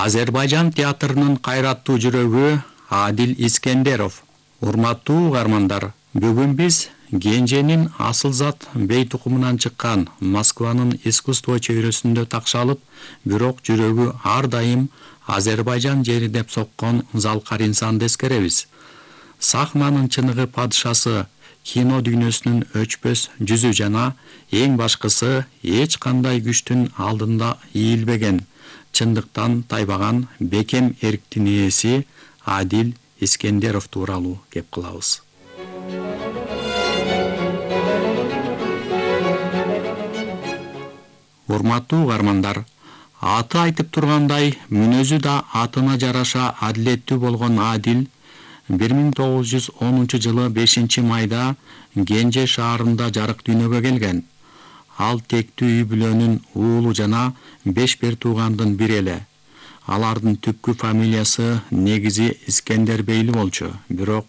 Азербайжан театрынын кайраттуу жүрөгү Адил Искендеров. Урматтуу угармандар, бүгүн биз Генженин асылзат бей тукумунан чыккан Москванын искусство чөйрөсүндө такшалып, бирок жүрөгү ар дайым Азербайжан жери деп соккон Залкар инсанды эскеребиз. Сахнанын чыныгы падышасы, кино дүйнөсүнүн өчпөс жүзү жана эң башкысы эч кандай күчтүн алдында ийилбеген, чындыктан тайбаган бекем эрктин ээси Адил Искендеров тууралуу кеп кылабыз. Урматтуу угармандар, аты айтып тургандай, мүнөзү да атына жараша адилеттүү болгон Адил 1910 жылы 5-майда Генже шаарында жарык дүйнөгө келген. Ал тектүү үй бүлөнүн уулу жана 5 бир туугандын бири эле. Алардын түпкү фамилиясы негизи Искендер бейли болчу, бирок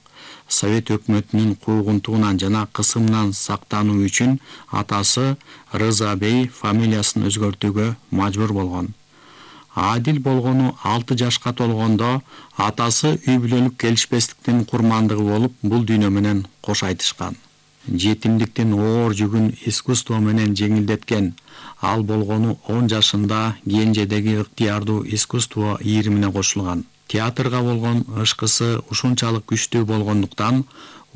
Совет өкмөтүнүн куугунтугунан жана кысымынан сактануу үчүн атасы Рыза бей фамилиясын өзгөртүүгө мажбур болгон. Адил болгону 6 жашка толгондо атасы үй бүлөлүк келишпестиктин курмандыгы болуп, бул дүйнө менен кош айтышкан. Жетимдиктин оор жүгүн искусство менен жеңилдеткен. Ал болгону 10 жашында Генжедеги ыктыярдуу искусство ийримине кошулган. Театрга болгон ышкысы ушунчалык күчтүү болгондуктан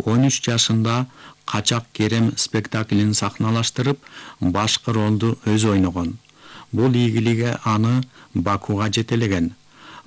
13 жашында Качак Керем спектаклин сахналаштырып, башкы ролду өзү ойногон. Бул ийгилиги аны Бакуга жетелеген.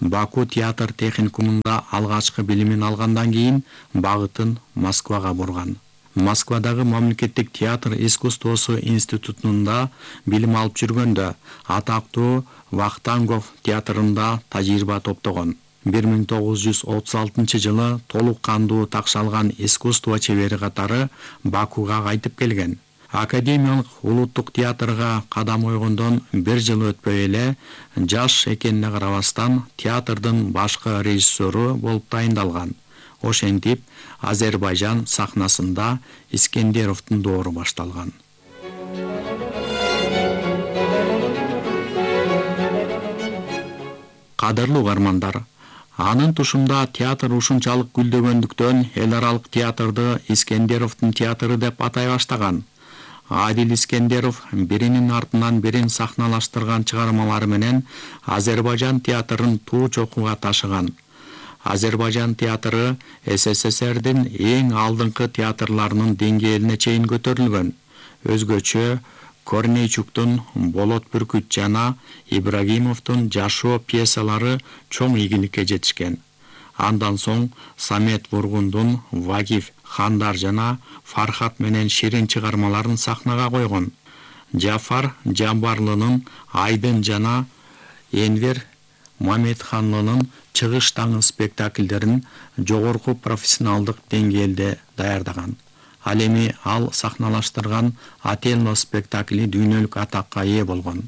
Баку театр техникумунда алгачкы билимин алгандан кийин багытын Москвага бурган. Москвадагы мамлекеттик театр искусствосу институтунда билим алып жүргөндө атактуу Вахтангов театрында тажрыйба топтогон. 1936 жылы толук кандуу такшалган искусство чебери катары Бакуга кайтып келген. Академиялык улуттук театрга кадам койгондон 1 жыл өтпөй эле жаш экенине карабастан театрдын башкы режиссеру болуп дайындалган. Ошентип Азербайжан сахнасында Искендеровдун доору башталган. Кадырлуу угармандар, анын тушунда театр ушунчалык гүлдөгөндүктөн эл аралык театрды Искендеровдун театры деп атай баштаган. Адил Искендеров биринин артынан бирин сахналаштырган чыгармалары менен Азербайжан театрын туу чокуга ташыган. Азербайжан театры СССРдин эң алдыңкы театрларынын деңгээлине чейин көтөрүлгөн. Өзгөчө Корнейчуктун Болот бүркүт жана Ибрагимовдун Жашоо пьесалары чоң ийгиликке жетишкен. Андан соң Самет Вургундун Вагиф Хандар жана Фархат менен Ширин чыгармаларын сахнага койгон. Жафар Жамбарлынын Айдын жана Энвер Мамедханлынын Чыгыш таңы спектакльдерин жогорку профессионалдык деңгээлде даярдаган. Ал эми ал сахналаштырган Ателло спектакли дүйнөлүк атакка ээ болгон.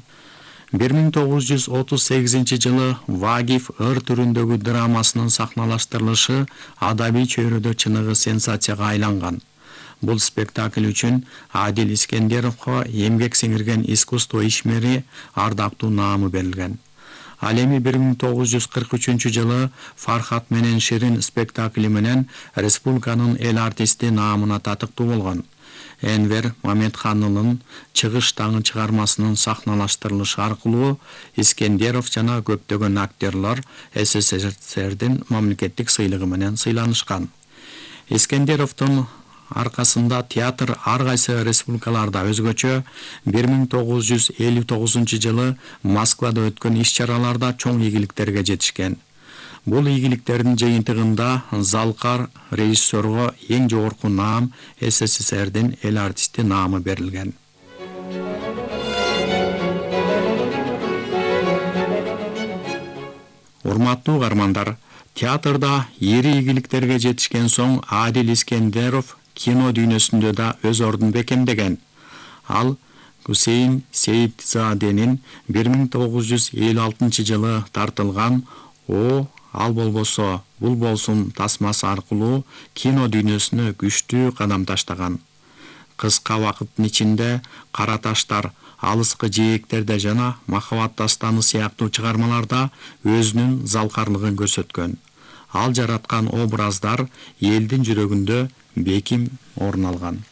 1938 жылы Вагиф ыр түрүндөгү драмасынын сахналаштырылышы адабий чөйрөдө чыныгы сенсацияга айланган. Бул спектакль үчүн Адил Искендеровго эмгек сиңирген искусство ишмери ардактуу наамы берилген. Ал эми 1943 жылы Фархат менен Ширин спектакли менен республиканын эл артисти наамына татыктуу болгон. Энвер Мамедханлынын Чыгыш таңы чыгармасынын сахналаштырылышы аркылуу Искендеров жана көптөгөн актерлор СССРдин мамлекеттик сыйлыгы менен сыйланышкан. Искендеровдун аркасында театр ар кайсы республикаларда өзгөчө 1959 жылы Москвада өткөн иш-чараларда чоң ийгиликтерге жетишкен. Бул ийгиликтердин жыйынтыгында Залкар режиссерго эң жогорку наам СССРдин эл артисти наамы берилген. Урматтуу угармандар, театрда ири ийгиликтерге жетишкен соң Адил Искендеров кино дүйнөсүндө да өз ордун бекемдеген. Ал Гусейн Сейитзаденин 1956 жылы тартылган "О, ал болбосо, бул болсун" тасмасы аркылуу кино дүйнөсүнө күчтүү кадам таштаган. Кыска убакыттын ичинде Кара таштар, алыскы жээктерде жана Махаббат дастаны сыяктуу чыгармаларда өзүнүн залкарлыгын көрсөткөн. Ал жараткан образдар элдин жүрөгүндө беким орун алган.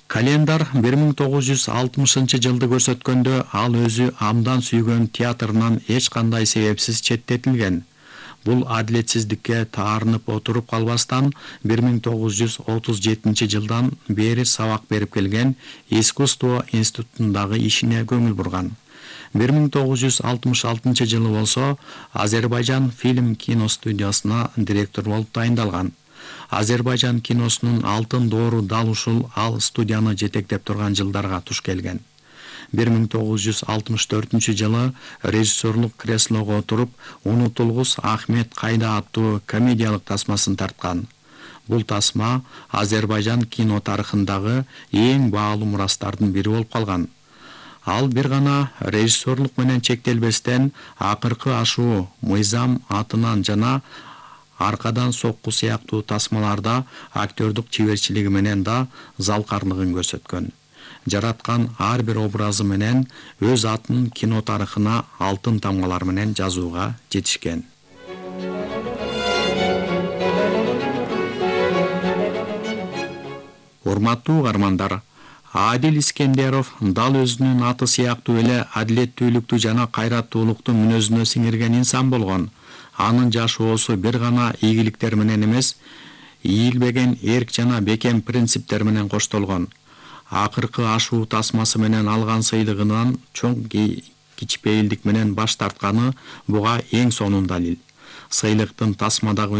Календар 1960 жылды көрсөткөндө ал өзү абдан сүйгөн театрынан эч кандай себепсиз четтетилген. Бул адилетсиздикке таарынып отуруп калбастан 1937 жылдан бери сабак берип келген искусство институтундагы ишине көңүл бурган. 1966 жылы болсо Азербайжан фильм киностудиясына директор болуп тайындалган. Азербайжан киносунун алтын доору дал ушул ал студияны жетектеп турган жылдарга туш келген. 1964 жылы режиссерлук креслого отуруп «Унутулгус Ахмет кайда» аттуу комедиялык тасмасын тарткан. Бул тасма Азербайжан кино тарыхындагы эң баалуу мурастардын бири болуп калган. Ал бир гана режиссерлук менен чектелбестен акыркы ашуу, мыйзам атынан жана аркадан сокку сыяктуу тасмаларда актёрдук чеберчилиги менен да залкарлыгын көрсөткөн. Жараткан ар бир образы менен өз атын кино тарыхына алтын тамгалар менен жазууга жетишкен. Урматтуу угармандар, Адил Искендеров дал өзүнүн аты сыяктуу эле адилеттүүлүктү жана кайраттуулукту мүнөзүнө сиңирген инсан болгон. Анын жашоосу бир гана ийгиликтер менен эмес, ийилбеген эрк жана бекем принциптер менен коштолгон. Акыркы ашуу тасмасы менен алган сыйлыгынан чоң кичпейилдик менен баш тартканы буга эң сонун далил. Сыйлыктын тасмадагы